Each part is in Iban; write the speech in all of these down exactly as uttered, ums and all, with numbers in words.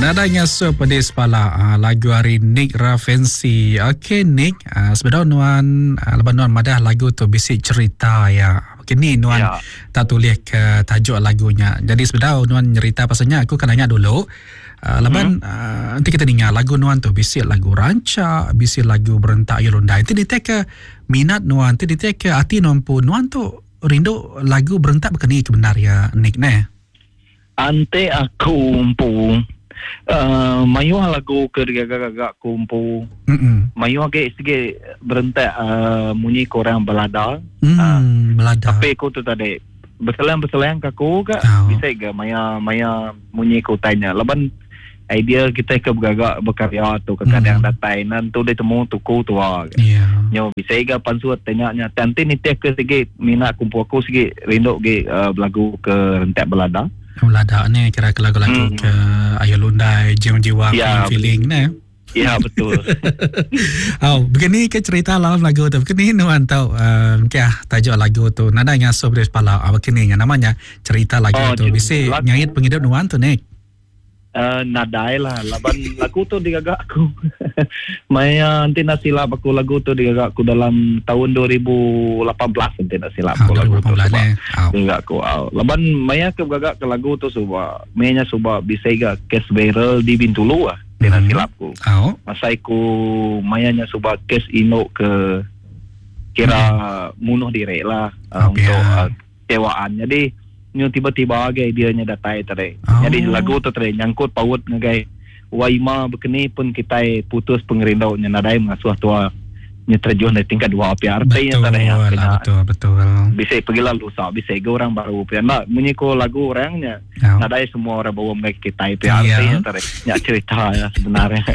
Nadai ngasuh pedis pala uh, lagu hari Nick Rafensi. Okey Nick, uh, sebenar nuan uh, leban nuan madah lagu tu bisi cerita ya. Okey ni nuan ya. Tak tulis ke tajuk lagunya. Jadi sebenar nuan nyerita pasalnya aku kan nanya dulu. Uh, leban hmm. uh, nanti kita dengar lagu nuan tu bisi lagu rancak, bisi lagu berentak yulundai. Nanti dia ke minat nuan, nanti dia ke hati nuan pun nuan tu rindu lagu berentak berkeni kebenar ya Nick ne. Ante aku empu uh, mayuh lagu ke gagak-gagak kumpu. Mm-mm. Mayuh age sige berentak uh, munyi korang belada. Mm, uh, belada. Tapi aku tu tadi berselang-berselang ke aku ke oh. Bisa ke maya maya munyi ku tanya. Laban idea kita ke bergagak berkarya tu kadang mm. datai nan tu dia temu tuku tua. Yeah. Nyo bisa ke pansuat tanya nya nanti ni teh ke sige minat kumpu aku sige rindu ge uh, belagu ke rentak belada. Belada ni kira ke lagu-lagu mm. ke Ayu Lundai, Jiwa-jiwa ya, feeling ne. Ya betul. Oh, begini ke cerita dalam lagu tu. Begini nuan tau uh, okay, tajuk lagu tu nada ngasuh pedis pala. Ah, begini namanya cerita lagu oh, tu. Bisi ngait penghidup nuan tu Nick. Uh, nadai lah laban lagu tu digagak aku. Maya nanti nak silap aku lagu tu digagak aku dalam tahun dua ribu lapan belas nanti nak silap aku lagu tu eh. Digagak aku. Oh. Laban maya ke gagak ke lagu tu suba mayanya suba bisa ga case viral di Bintulu ah. Nanti nak silap aku. Oh. Masa aku mayanya suba case inok ke kira hmm. munuh diri lah uh, oh, untuk yeah. uh, kecewaan. Jadi nyu tiba-tiba age dia nya datai tadi. Oh. Jadi lagu tu tadi nyangkut paut ngagai waima bekeni pun kita putus pengerindau nya nadai mengasuh tua nya terjun dari tingkat dua P R T nya tadi ya. Betul betul. Bisa pergi lalu lusa bisa ke orang baru P R nak munyi ko lagu orangnya. Oh. Nadai semua orang bawa mereka kita P R T nya tadi. Nya cerita ya sebenarnya.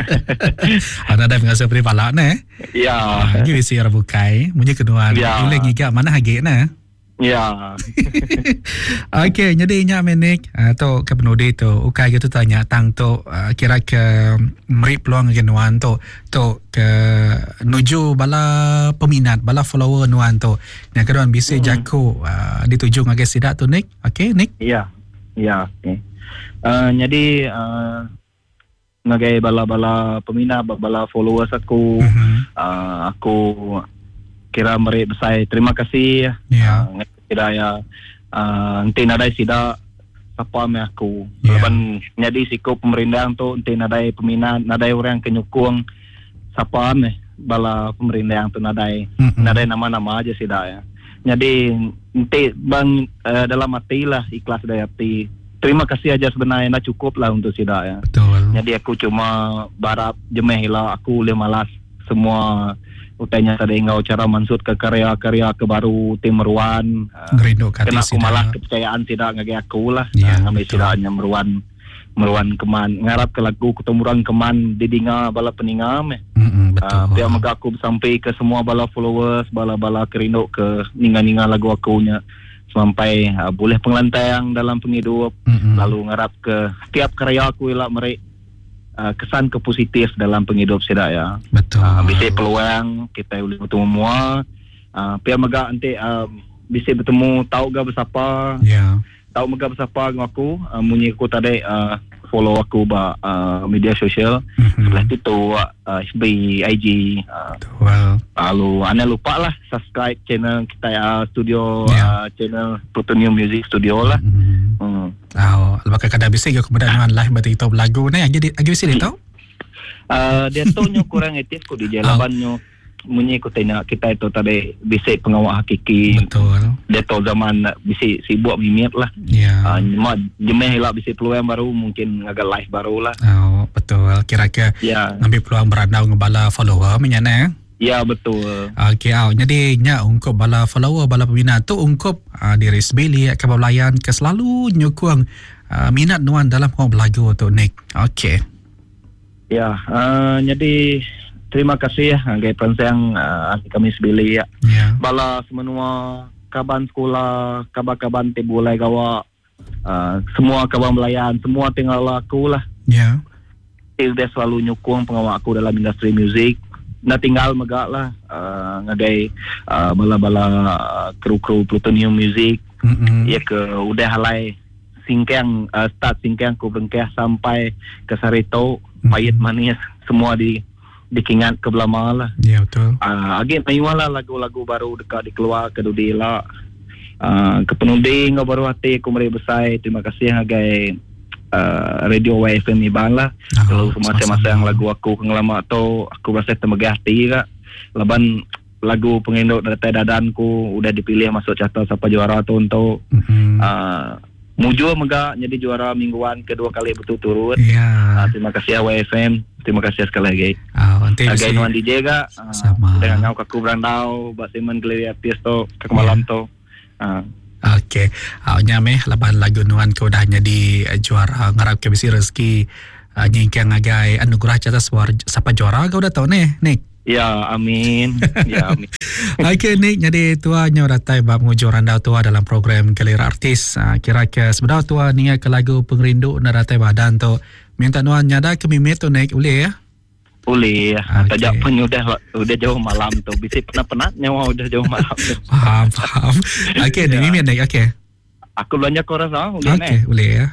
Nadai mengasuh peri palak ne. Ya. Lagi bisi orang bukai munyi kedua. Ya. Boleh ngigak mana hagi ne. Ya. Okey, jadi nya menik atau ke penudi tu ukai gitu tanya tang tu uh, kira ke meri peluang ke nuan tu tu ke nuju bala peminat bala follower nuan tu. Nya keduan bisi hmm. jaku uh, dituju ngagai sidak tu Nick. Okey, Nick. Ya. Ya, okey. Uh, jadi uh, ngagai bala-bala peminat bala followers aku mm-hmm. uh, aku kira meri besar terima kasih. Ya. Uh, kira ya uh, enti nadai sida sapa me aku. Yeah. Laban nyadi siko pemerindang tu enti nadai peminat, nadai orang ke nyukung sapa me bala pemerindang tu nadai mm-hmm. nadai nama-nama aja sida ya. Jadi enti bang uh, dalam hati lah ikhlas dari hati. Terima kasih aja sebenarnya dah cukup lah untuk sida ya. Betul. Jadi aku cuma barap jemeh lah aku boleh malas semua utainya tadi ngau cara mansut ke karya-karya ke baru tim meruan ngerindu kat kena aku malah kepercayaan tidak ngagai aku lah ya, ngambil sidaknya meruan meruan keman ngarap ke lagu ketemuran keman didinga bala peninga meh. Mm-hmm, betul. Uh, biar mega aku sampai ke semua bala followers bala-bala kerindu ke ninga-ninga lagu aku nya sampai uh, boleh pengelantang dalam penghidup mm-hmm. lalu ngarap ke setiap karya aku ilak merek Uh, kesan ke positif dalam penghidup sidak ya. Betul. Uh, bisa peluang kita boleh bertemu semua. Uh, pihak mega nanti uh, bisa bertemu tahu ga bersapa. Ya. Yeah. Tahu mega bersapa dengan aku, uh, munyi aku tadi uh, follow aku ba uh, media sosial. Mm-hmm. Sebelah TikTok, uh, F B, I G. Uh, Betul. Lalu anda lupa lah subscribe channel kita uh, studio yeah. uh, channel Plutonium Music Studio lah. Mm-hmm. Hmm. Oh, lepas kadang bisa ke kemudian dengan live berarti itu lagu ni lagi lagi bisa dia tahu? Uh, dia tu nyo kurang aktif ku di jalan oh. nyo munyi ku tanya kita itu tadi bisa pengawal hakiki. Betul. Dia tu zaman bisa sibuk mimit lah. Ya. Yeah. Uh, mak jemeh lah bisa peluang baru mungkin agak live baru lah. Oh, betul. Kira-kira yeah. ambil peluang berandau dengan bala follower menyana. Ya betul. Okey, au. Jadi nya ungkup bala follower bala peminat tu ungkup uh, diri sebili ke belayan ke selalu nyukung uh, minat nuan dalam hok belagu tu Nick. Okey. Ya, uh, jadi terima kasih ya ngagai pensang uh, kami sebili ya. Ya. Bala semenua kaban sekolah, kaban-kaban ti bulai gawa uh, semua kaban belayan, semua tinggal aku lah. Ya. Dia selalu nyukung pengawal aku dalam industri muzik. Nak tinggal megak lah uh, ngagai uh, bala-bala uh, kru-kru Plutonium Music mm-hmm. ya ke udah halai singkang uh, start singkang ku berengkah sampai ke sarito mm-hmm. pahit manis semua di dikingat ke belama lah. Ya betul. Uh, agi mayuh lah lagu-lagu baru dekat dikeluar ke dudi lah. Uh, ke penudi ngau baru hati aku meri besar terima kasih ngagai uh, Radio Y F M Iban lah. Oh, kalau semasa-masa yang lagu aku ngelama tu aku rasa temegah hati kak. Laban lagu penginduk dari dadan ku udah dipilih masuk carta siapa juara tu untuk mm-hmm. uh, Mujur mega jadi juara mingguan kedua kali berturut-turut. Yeah. Uh, terima kasih Y F M. Terima kasih sekali lagi. Oh, nanti Agai nuan D J kak. Uh, sama. Dengan ngau kaku berandau bak Simon Galeria Artis tu ke malam yeah. tu. Uh. Okey. Uh, nyameh laban lagu nuan ke udah jadi juara ngarap ke bisi rezeki uh, nyingkang agai anugerah carta suara siapa juara kau udah tahu nih, Nick. Ya, amin. Ya, amin. Okey, Nick, jadi tuanya datai bab ngujur randau tua dalam program Kelira Artis. Uh, kira ke sebenar tua ni ke lagu pengerindu nak datai badan tu. Minta nuan nyada ke mimit tu Nick, boleh ya? Boleh. Okay. Tajak pun udah udah jauh malam tu. Bisi penat-penat nyawa udah jauh malam tu. Faham, faham. Okey, Nick, mimit Nick, okey. Aku belanja kau rasa, boleh Okey, boleh ya.